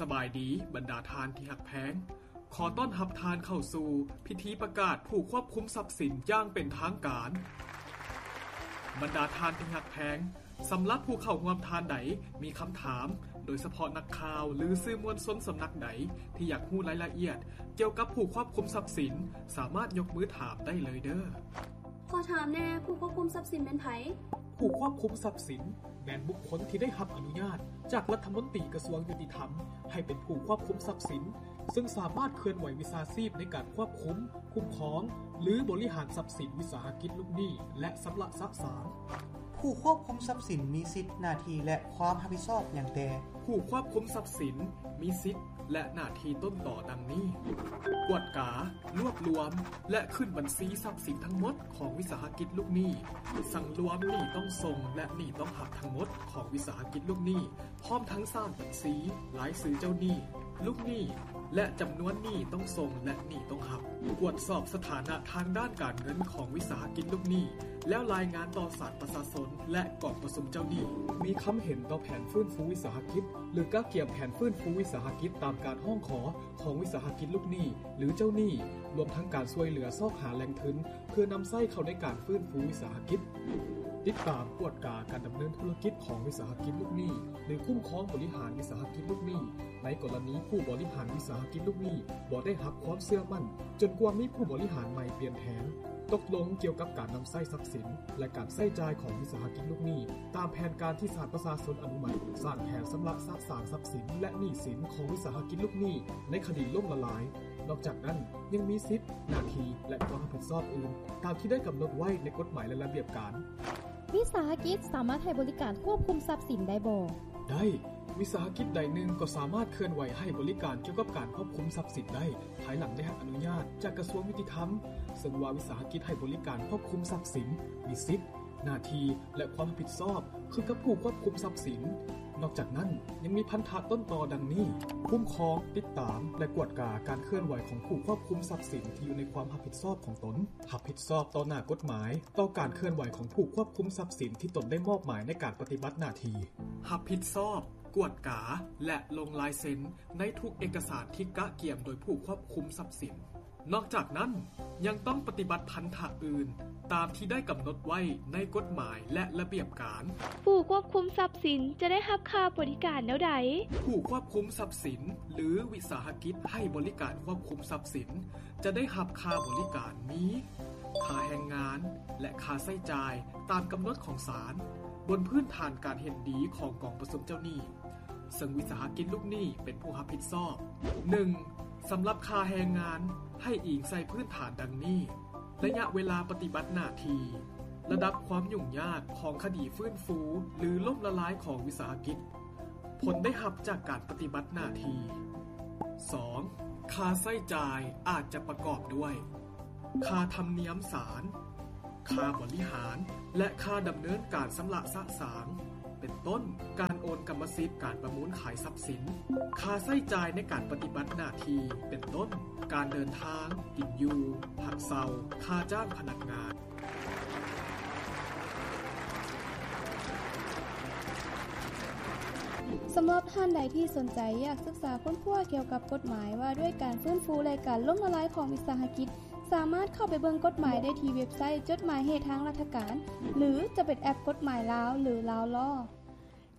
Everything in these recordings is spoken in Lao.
ສະບາຍດີ ບັນດາທ່ານທີ່ຮັກແພງ. ຂໍຕ້ອນຮັບທ່ານເຂົ້າສູ່ພິທີປະກາດຜູ້ຄວບຄຸມຊັບສິນຢ່າງເປັນທາງການ. ບັນດາທ່ານທີ່ຮັກແພງ, ສຳລັບຜູ້ເຂົ້າຮ່ວມທ່ານໃດມີຄຳຖາມ, ໂດຍສະເພາະນັກຂ່າວ ຫຼື ສື່ມວນຊົນສຳນັກໃດທີ່ຢາກຮູ້ລາຍລະອຽດກ່ຽວກັບຜູ້ຄວບຄຸມຊັບສິນ, ສາມາດຍົກມືຖາມໄດ້ເລີຍເດີ້. ຂໍຖາມແດ່, ຜູ້ຄວບຄຸມຊັບສິນແມ່ນໃຜ? ຜູ້ຄວບຄຸມຊັບສິນ ແມ່ນບຸກຄົນທີ່ໄດ້ຮັບອະນຸຍາດຈາກລັດຖະມົນຕີກະຊວງຍຸຕິທຳ ໃຫ້ເປັນຜູ້ຄວບຄຸມຊັບສິນ, ເຊິ່ງສາມາດເຄື່ອນໄຫວວິຊາຊີບໃນການຄວບຄຸມ, ຄຸ້ມຄອງ ຫຼື ບໍລິຫານຊັບສິນວິສາຫະກິດລູກໜີ້ ແລະ ຊຳລະສະສາງ. ຜູ້ຄວບຄຸມຊັບສິນມີສິດ, ໜ້າທີ່ ແລະ ຄວາມຮັບຜິດຊອບຫຍັງແດ່? ຜູ້ຄວບຄຸມຊັບສິນມີສິດ ແລະ ໜ້າທີ່ຕົ້ນຕໍດັ່ງນີ້: ກວດກາ, ລວບລວມ ແລະ ຂຶ້ນບັນຊີຊັບສິນທັງໝົດຂອງວິສາຫະກິດລູກໜີ້, ສັງລວມໜີ້ຕ້ອງສົ່ງ ແລະ ໜີ້ຕ້ອງຮັບທັງໝົດຂອງວິສາຫະກິດລູກໜີ້, ພ້ອມທັງສ້າງບັນຊີ, ລາຍຊື່ເຈົ້າໜີ້, ລູກໜີ້ ແລະ ຈຳນວນໜີ້ຕ້ອງສົ່ງ ແລະ ໜີ້ຕ້ອງຮັບ, ກວດສອບສະຖານະທາງດ້ານການເງິນຂອງວິສາຫະກິດລູກໜີ້ ແລ້ວລາຍງານຕໍ່ສານປະຊາຊົນ ແລະ ກອງປະຊຸມເຈົ້າໜີ້, ມີຄຳເຫັນຕໍ່ແຜນຟື້ນຟູວິສາຫະກິດ ຫຼື ກະກຽມແຜນຟື້ນຟູວິສາຫະກິດຕາມການຮ້ອງຂໍຂອງວິສາຫະກິດລູກໜີ້ ຫຼື ເຈົ້າໜີ້, ລວມທັງການຊ່ວຍເຫຼືອຊອກຫາແຫຼ່ງທຶນ ເພື່ອນຳໃຊ້ເຂົ້າໃນການຟື້ນຟູວິສາຫະກິດ. ຕິດຕາມກວດກາການດຳເນີນທຸລະກິດຂອງວິສາຫະກິດລູກໜີ້ ຫຼື ຄຸ້ມຄອງບໍລິຫານວິສາຫະກິດລູກໜີ້ ໃນກໍລະນີຜູ້ບໍລິຫານວິສາຫະກິດລູກໜີ້ບໍ່ໄດ້ຮັບຄວາມເຊື່ອໝັ້ນ ຈົນກວ່າມີຜູ້ບໍລິຫານໃໝ່ປ່ຽນແຜນ, ຕົກລົງກ່ຽວກັບການນຳໃຊ້ຊັບສິນ ແລະ ການໃຊ້ຈ່າຍຂອງວິສາຫະກິດລູກໜີ້ ຕາມແຜນການທີ່ສານປະຊາຊົນອະນຸມັດ, ສ້າງແຜນຊຳລະສະສາງຊັບສິນ ແລະ ໜີ້ສິນຂອງວິສາຫະກິດລູກໜີ້ໃນຄະດີລົ້ມລະລາຍ. ນອກຈາກນັ້ນ, ຍັງມີສິດ, ໜ້າທີ່ ແລະ ຄວາມຮັບຜິດຊອບອື່ນ ຕາມທີ່ໄດ້ກຳນົດໄວ້ໃນກົດໝາຍ ແລະ ລະບຽບການ. ວິສາຫະກິດສາມາດໃຫ້ບໍລິການຄວບຄຸມຊັບສິນໄດ້ບໍ່? ໄດ້. ວິສາຫະກິດໃດໜຶ່ງກໍສາມາດເຄື່ອນໄຫວໃຫ້ບໍລິການກ່ຽວກັບການຄວບຄຸມຊັບສິນໄດ້ ພາຍຫຼັງໄດ້ຮັບອະນຸຍາດຈາກກະຊວງຍຸຕິທຳ, ເຊິ່ງວ່າວິສາຫະກິດໃຫ້ບໍລິການຄວບຄຸມຊັບສິນ ມີສິດ, ໜ້າທີ່ ແລະ ຄວາມຮັບຜິດຊອບຄືກັບຜູ້ຄວບຄຸມຊັບສິນ. ນອກຈາກນັ້ນ, ຍັງມີພັນທະຕົ້ນຕໍດັ່ງນີ້: ຄຸ້ມຄອງ, ຕິດຕາມ ແລະ ກວດກາການເຄື່ອນໄຫວຂອງຜູ້ຄວບຄຸມຊັບສິນທີ່ຢູ່ໃນຄວາມຮັບຜິດຊອບຂອງຕົນ, ຮັບຜິດຊອບຕໍ່ໜ້າກົດໝາຍຕໍ່ການເຄື່ອນໄຫວຂອງຜູ້ຄວບຄຸມຊັບສິນທີ່ຕົນໄດ້ມອບໝາຍໃນການປະຕິບັດໜ້າທີ່, ຮັບຜິດຊອບ, ກວດກາ ແລະ ລົງລາຍເຊັນໃນທຸກເອກະສານທີ່ກະກຽມໂດຍຜູ້ຄວບຄຸມຊັບສິນ. ນອກຈາກນັ້ນ, ຍັງຕ້ອງປະຕິບັດພັນທະອື່ນຕາມທີ່ໄດ້ກຳນົດໄວ້ໃນກົດໝາຍ ແລະ ລະບຽບການ. ຜູ້ຄວບຄຸມຊັບສິນຈະໄດ້ຮັບຄ່າບໍລິການແນວໃດ? ຜູ້ຄວບຄຸມຊັບສິນ ຫຼື ວິສາຫະກິດໃຫ້ບໍລິການຄວບຄຸມຊັບສິນ ຈະໄດ້ຮັບຄ່າບໍລິການມີ ຄ່າແຮງງານ ແລະ ຄ່າໃຊ້ຈ່າຍຕາມກຳນົດຂອງສານ ບົນພື້ນຖານການເຫັນດີຂອງກອງປະຊຸມເຈົ້າໜີ້ ເຊິ່ງວິສາຫະກິດລູກໜີ້ເປັນຜູ້ຮັບຜິດຊອບ. ໜຶ່ງ, ສຳລັບຄ່າແຮງງານ ໃຫ້ອີງໃສ່ພື້ນຖານດັ່ງນີ້: ໄລຍະເວລາປະຕິບັດໜ້າທີ່, ລະດັບຄວາມຫຍຸ້ງຍາກຂອງຄະດີຟື້ນຟູ ຫຼື ລົ້ມລະລາຍຂອງວິສາຫະກິດ, ຜົນໄດ້ຮັບຈາກການປະຕິບັດໜ້າທີ່. ສອງ, ຄ່າໃຊ້ຈ່າຍອາດຈະປະກອບດ້ວຍ ຄ່າທຳນຽມສານ, ຄ່າບໍລິຫານ ແລະ ຄ່າດຳເນີນການຊຳລະສະສາງ ເປັນຕົ້ນ ການໂອນກຳມະສິດ, ການປະມູນຂາຍຊັບສິນ, ຄ່າໃຊ້ຈ່າຍໃນການປະຕິບັດໜ້າທີ່ ເປັນຕົ້ນ ການເດີນທາງ, ກິນຢູ່, ພັກເຊົາ, ຄ່າຈ້າງພະນັກງານ. ສຳລັບທ່ານໃດທີ່ສົນໃຈຢາກສຶກສາຄົ້ນຄວ້າກ່ຽວກັບກົດໝາຍວ່າດ້ວຍການຟື້ນຟູ ແລະ ການລົ້ມລະລາຍຂອງວິສາຫະກິດ, ສາມາດເຂົ້າໄປເບິ່ງກົດໝາຍໄດ້ທີ່ເວັບໄຊຈົດໝາຍເຫດທາງລັດຖະການ ຫຼື ຈະເປັນແອັບກົດໝາຍລາວ ຫຼື Law Law.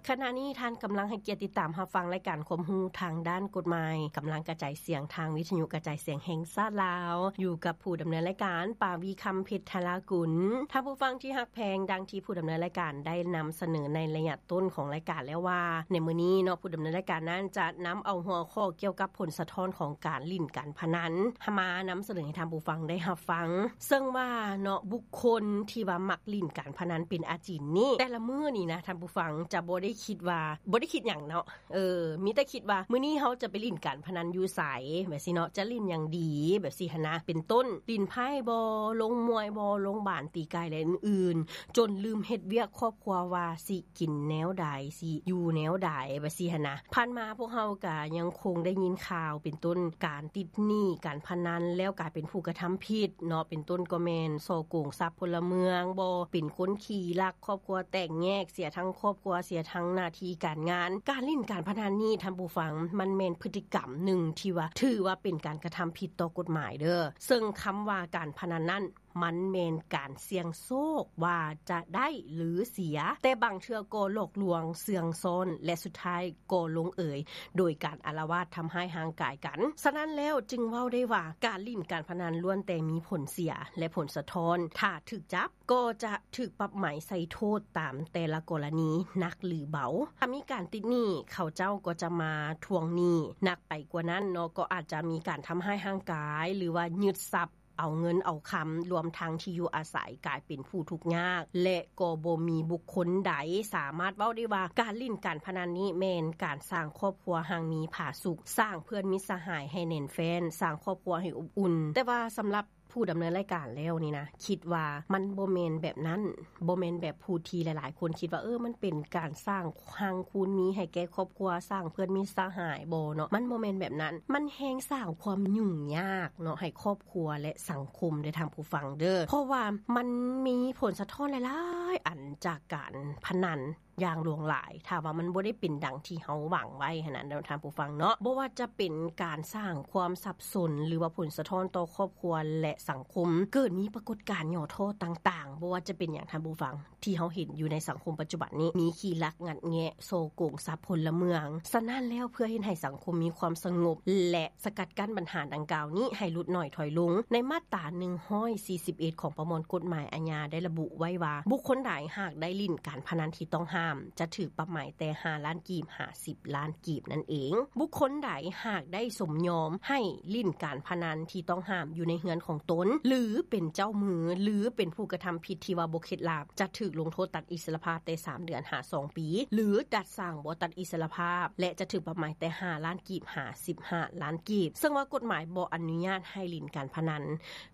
ຂະນະນີ້ທ່ານກຳລັງໃຫ້ກຽດຕິດຕາມຮັບຟັງລາຍການຄວາມຮູ້ທາງດ້ານກົດໝາຍ ກຳລັງກະຈາຍສຽງທາງວິທະຍຸກະຈາຍສຽງແຫ່ງຊາດລາວ, ຢູ່ກັບຜູ້ດຳເນີນລາຍການ ປາວີ ຄຳເພັດ ທະລາກຸນ. ທ່ານຜູ້ຟັງທີ່ຮັກແພງ, ດັ່ງທີ່ຜູ້ດຳເນີນລາຍການໄດ້ນຳສະເໜີໃນໄລຍະຕົ້ນຂອງລາຍການແລ້ວວ່າ, ໃນມື້ນີ້ເນາະ, ຜູ້ດຳເນີນລາຍການນັ້ນຈະນຳເອົາຫົວຂໍ້ກ່ຽວກັບຜົນສະທ້ອນຂອງການຫຼິ້ນການພະນັນ ມານຳສະເໜີໃຫ້ທ່ານຜູ້ຟັງໄດ້ຮັບຟັງ. ເຊິ່ງວ່າເນາະ, ບຸກຄົນທີ່ວ່າມັກຫຼິ້ນການພະນັນເປັນອາຈິນນີ້, ແຕ່ລະມື້ນີ້ນະ, ທ່ານຜູ້ຟັງຈະບໍ່ໄດ້ຄິດວ່າ, ບໍ່ໄດ້ຄິດຫຍັງເນາະ, ເອີ, ມີແຕ່ຄິດວ່າມື້ນີ້ເຮົາຈະໄປຫຼິ້ນການພະນັນຢູ່ໃສ ແບບຊີ້ເນາະ, ຈະຫຼິ້ນຫຍັງດີ ແບບຊີ້ຫັ້ນນະ, ເປັນຕົ້ນ ຫຼິ້ນໄພ້ບໍ, ລົງມວຍບໍ, ລົງບານ, ຕີໄກ່ ແລະ ອື່ນໆ, ຈົນລືມເຮັດວຽກຄອບຄົວວ່າຊິກິນແນວໃດ, ຊິຢູ່ແນວໃດ ແບບຊີ້ຫັ້ນນະ. ຜ່ານມາພວກເຮົາກະຍັງຄົງໄດ້ຍິນຂ່າວ ເປັນຕົ້ນ ການຕິດໜີ້ການພະນັນ ແລ້ວກາຍເປັນຜູ້ກະທຳຜິດເນາະ, ເປັນຕົ້ນກໍແມ່ນສໍ້ໂກງຊັບພົນລະເມືອງບໍ, ເປັນຄົນຂີ້ລັກ, ຄອບຄົວແຕກແຍກ, ເສຍທັງຄອບຄົວ, ເສຍທັງ ໜ້າທີ່ການງານ. ການຫຼິ້ນການພະນັນນີ້ ທ່ານຜູ້ຟັງ, ມັນແມ່ນພຶດຕິກຳໜຶ່ງທີ່ວ່າ ຖືວ່າເປັນການກະທຳຜິດຕໍ່ກົດໝາຍເດີ້. ເຊິ່ງຄຳວ່າການພະນັນນັ້ນ ມັນແມ່ນການສ່ຽງໂຊກວ່າຈະໄດ້ ຫຼື ເສຍ, ແຕ່ບາງເທື່ອກໍຫຼອກລວງ, ເຊື່ອງຊ້ອນ ແລະ ສຸດທ້າຍກໍລົງເອຍໂດຍການອາລະວາດທຳຮ້າຍຮ່າງກາຍກັນ. ສະນັ້ນແລ້ວຈຶ່ງເວົ້າໄດ້ວ່າ ການຫຼິ້ນການພະນັນລ້ວນແຕ່ມີຜົນເສຍ ແລະ ຜົນສະທ້ອນ. ຖ້າຖືກຈັບ ກໍຈະຖືກປັບໃໝໃສ່ໂທດຕາມແຕ່ລະກໍລະນີ ໜັກ ຫຼື ເບົາ. ຖ້າມີການຕິດໜີ້ ເຂົາເຈົ້າກໍຈະມາທວງໜີ້. ໜັກໄປກວ່ານັ້ນເນາະ ກໍອາດຈະມີການທຳຮ້າຍຮ່າງກາຍ ຫຼືວ່າຍຶດຊັບ ເອົາເງິນເອົາຄຳ ລວມທັງທີ່ຢູ່ອາໄສ ກາຍເປັນຜູ້ທຸກຍາກ ແລະ ກໍບໍ່ມີບຸກຄົນໃດສາມາດເວົ້າໄດ້ວ່າ ການຫຼິ້ນການພະນັນນີ້ແມ່ນການສ້າງຄອບຄົວຮັ່ງມີຜາສຸກ, ສ້າງເພື່ອນມິດສະຫາຍໃຫ້ແໜ້ນແຟ້ນ, ສ້າງຄອບຄົວໃຫ້ອົບອຸ່ນ. ແຕ່ວ່າສຳລັບ ຜູ້ດຳເນີນລາຍການແລ້ວນີ້ນະ ຄິດວ່າມັນບໍ່ແມ່ນແບບນັ້ນ, ບໍ່ແມ່ນແບບຜູ້ທີ່ຫຼາຍໆຄົນຄິດວ່າ ເອີ ມັນເປັນການສ້າງຮັ່ງຄູນມີໃຫ້ແກ່ຄອບຄົວ, ສ້າງເພື່ອນມິດສະຫາຍບໍເນາະ, ມັນບໍ່ແມ່ນແບບນັ້ນ. ມັນແຮ່ງສ້າງຄວາມຫຍຸ້ງຍາກເນາະ ໃຫ້ຄອບຄົວ ແລະ ສັງຄົມເດີ້ທ່ານຜູ້ຟັງເດີ້. ເພາະວ່າມັນມີຜົນສະທ້ອນຫຼາຍໆອັນຈາກການພະນັນ ຢ່າງຫຼວງຫຼາຍ ຖ້າວ່າມັນບໍ່ໄດ້ເປັນດັ່ງທີ່ເຮົາຫວັງໄວ້ຫັ້ນນະ ທ່ານຜູ້ຟັງເນາະ. ບໍ່ວ່າຈະເປັນການສ້າງຄວາມສັບສົນ ຫຼືວ່າຜົນສະທ້ອນຕໍ່ຄອບຄົວ ແລະ ສັງຄົມ, ເກີດມີປາກົດການຫຍໍ້ທໍ້ຕ່າງໆ, ບໍ່ວ່າຈະເປັນຫຍັງ ທ່ານຜູ້ຟັງ, ທີ່ເຮົາເຫັນຢູ່ໃນສັງຄົມປັດຈຸບັນນີ້ ມີຂີ້ລັກງັດແງະ, ສໍ້ໂກງຊັບພົນລະເມືອງ. ສະນັ້ນແລ້ວ ເພື່ອເຮັດໃຫ້ສັງຄົມມີຄວາມສະຫງົບ ແລະ ສະກັດກັ້ນບັນຫາດັ່ງກ່າວນີ້ໃຫ້ຫຼຸດໜ້ອຍຖອຍລົງ, ໃນມາດຕາໜຶ່ງຮ້ອຍສີ່ສິບເອັດຂອງປະມວນກົດໝາຍອາຍາໄດ້ລະບຸໄວ້ວ່າ ບຸກຄົນໃດຫາກໄດ້ຫຼິ້ນການພະນັນທີ່ຕ້ອງຫ້າມ ຈະຖືກປັບໃໝແຕ່ຫ້າລ້ານກີບຫາສິບລ້ານກີບນັ້ນເອງ. ບຸກຄົນໃດຫາກໄດ້ສົມຍອມໃຫ້ຫຼິ້ນການພະນັນທີ່ຕ້ອງຫ້າມຢູ່ໃນເຮືອນຂອງຕົນ ຫຼື ເປັນເຈົ້າມື ຫຼື ເປັນຜູ້ກະທຳຜິດທີ່ວ່າບໍ່ເຂັດຫຼາບ ຈະຖືກລົງໂທດຕັດອິດສະຫຼະພາບແຕ່ສາມເດືອນຫາສອງປີ ຫຼື ຈັດສ້າງບໍ່ຕັດອິດສະຫຼະພາບ ແລະ ຈະຖືກປັບໃໝແຕ່ຫ້າລ້ານກີບຫາສິບຫ້າລ້ານກີບ. ເຊິ່ງວ່າກົດໝາຍບໍ່ອະນຸຍາດໃຫ້ຫຼິ້ນການພະນັນ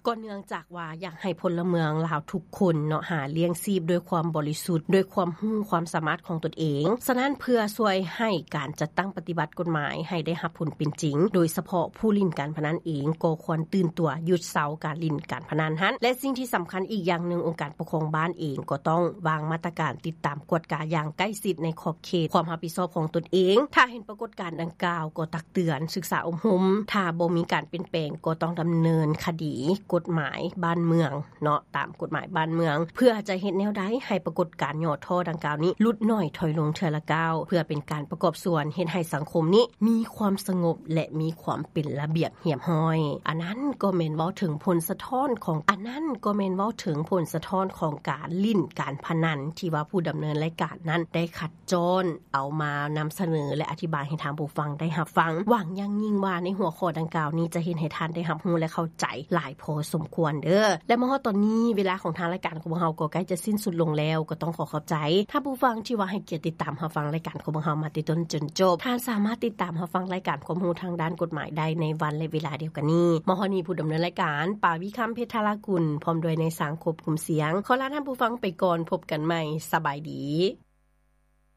ກໍເນື່ອງຈາກວ່າຢາກໃຫ້ພົນລະເມືອງລາວທຸກຄົນເນາະ ຫາລ້ຽງຊີບດ້ວຍຄວາມບໍລິສຸດ, ດ້ວຍຄວາມຮູ້ຄວາມສາມາດຂອງຕົນເອງ. ສະນັ້ນ ເພື່ອຊ່ວຍໃຫ້ການຈັດຕັ້ງປະຕິບັດກົດໝາຍໃຫ້ໄດ້ຮັບຜົນເປັນຈິງ, ໂດຍສະເພາະຜູ້ຫຼິ້ນການພະນັນເອງ ກໍຄວນຕື່ນຕົວຢຸດເຊົາການຫຼິ້ນການພະນັນຫັ້ນ. ແລະ ສິ່ງທີ່ສຳຄັນອີກຢ່າງໜຶ່ງ, ອົງການປົກຄອງບ້ານເອງກໍຕ້ອງວາງມາດຕະການຕິດຕາມກວດກາຢ່າງໃກ້ຊິດໃນຂອບເຂດຄວາມຮັບຜິດຊອບຂອງຕົນເອງ. ຖ້າເຫັນປາກົດການດັ່ງກ່າວ ກໍຕັກເຕືອນ, ສຶກສາອົບຮົມ. ຖ້າບໍ່ມີການປ່ຽນແປງ ກໍຕ້ອງດຳເນີນຄະດີກົດໝາຍບ້ານເມືອງເນາະ, ຕາມກົດໝາຍບ້ານເມືອງ, ເພື່ອຈະເຮັດແນວໃດໃຫ້ປາກົດການຫຍໍ້ທໍ້ດັ່ງກ່າວນີ້ຫຼຸດໜ້ອຍຖອຍລົງເທື່ອລະກ້າວ, ເພື່ອເປັນການປະກອບສ່ວນເຮັດໃຫ້ສັງຄົມນີ້ມີຄວາມສະຫງົບ ແລະ ມີຄວາມເປັນລະບຽບຮຽບຮ້ອຍ. ອັນນັ້ນກໍແມ່ນເວົ້າເຖິງຜົນສະທ້ອນຂອງ, ອັນນັ້ນກໍແມ່ນເວົ້າເຖິງຜົນສະທ້ອນຂອງການຫຼິ້ນການພະນັນ ທີ່ວ່າຜູ້ດຳເນີນລາຍການນັ້ນໄດ້ຄັດ ຈ້ອນເອົາມານຳສະເໜີ ແລະ ອະທິບາຍໃຫ້ທ່ານຜູ້ຟັງໄດ້ຮັບຟັງ. ຫວັງຢ່າງຍິ່ງວ່າໃນຫົວຂໍ້ດັ່ງກ່າວນີ້ຈະເຮັດໃຫ້ທ່ານໄດ້ຮັບຮູ້ ແລະ ເຂົ້າໃຈຫຼາຍພໍສົມຄວນເດີ້. ແລະ ມາຮອດຕອນນີ້ ເວລາຂອງທາງລາຍການຂອງພວກເຮົາກໍໃກ້ຈະສິ້ນສຸດລົງແລ້ວ. ກໍຕ້ອງຂໍຂອບໃຈທ່ານຜູ້ຟັງທີ່ວ່າໃຫ້ກຽດຕິດຕາມຮັບຟັງລາຍການຂອງພວກເຮົາມາແຕ່ຕົ້ນຈົນຈົບ. ທ່ານສາມາດຕິດຕາມຮັບຟັງລາຍການຄວາມຮູ້ທາງດ້ານກົດໝາຍໄດ້ໃນວັນ ແລະ ເວລາດຽວກັນນີ້. ມາຮອດນີ້ ຜູ້ດຳເນີນລາຍການ ປາວິຄຳ ເພັດທະລາກຸນ ພ້ອມດ້ວຍນາຍຊ່າງຄວບຄຸມສຽງ ຂໍລາທ່ານຜູ້ຟັງໄປກ່ອນ. ພົບກັນໃໝ່. ສະບາຍດີ.